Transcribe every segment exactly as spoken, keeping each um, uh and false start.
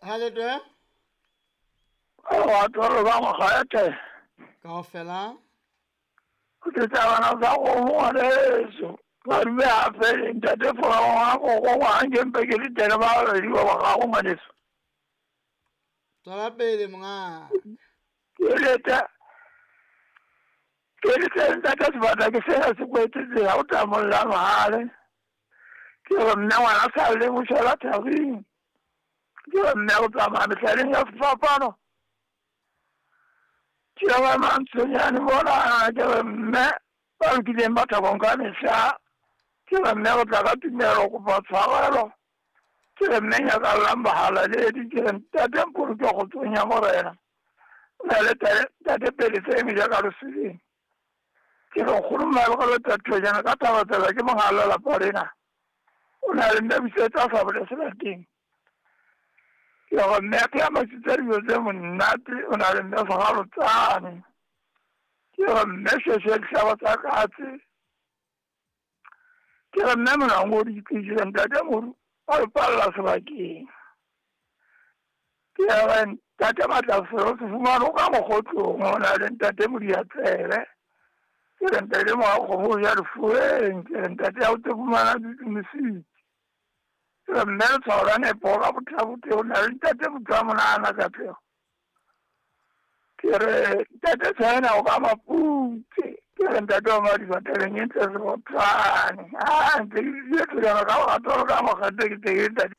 Ha le twe? Wa tolo ba mokgete. Kaofela. Ke tsa bana ba go ngwaneso. Ba dube hape ntate fora wa go go wa nke mpe ke le tene ba re di ba gago ngwaneso. Tswela pele monga. Ke leta. Ke le tla ntate sebata ke sena se kwetse tsela o tla molla mahale. Ke re mme ngwana sa le moshela thabing. Ke re mme o tsamaya mehlaleng ya sefapano. Ke re mantshonyane mona ke re mme ba lokileng ba thabong ka mehla. Ke re mme o tla ka tumelo kopa tshwarelo. Ke re mme nyakallang bahalaledi. Ke re ntate mpoloke kgotsong ya Morena. O na le tate pele tse meja ka lesuleng. Ke re nkgono Mmalekgolo Thojana ka Thabatsela ke mongala lapa lena. O na le mme busetsa sabole selateng. Ke re mme ke a masitsa dijo tse monate, o na le mme segalotsane. Ke re mme sheshe dihlaba tsa katse. Ke re mme monango o di tlisitse ntate Moru a re palla sebakeng. Ke re ntate Matlafelo se fumane o ka mokgotlong, o na le ntate Modiatsebe. Ke re ntate Moakgomo o ja lefueng. Ke re ntate ha o tlo fumana ditumisitse. Ke re mme letshwao la nepo ka botlabotle, o na le ntate Motho Monana Katlego. Ke re ntate China o ka Maputse. Ke re ntate wa Madiba tabeng e ntle serotswane. Ah, ntse ke dutse Thojana ka boratolo ka mokgete ke teng ntate.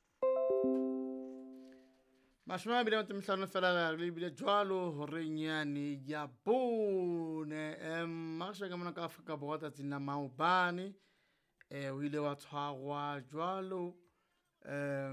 Mashome a mabedi a metso e mehlano fela re lebile jwalo horeng yane ya bone. Em magasha ka mona ka Afrika Borwa tsatsing la maobane, eh o ile wa tshwarwa jwalo em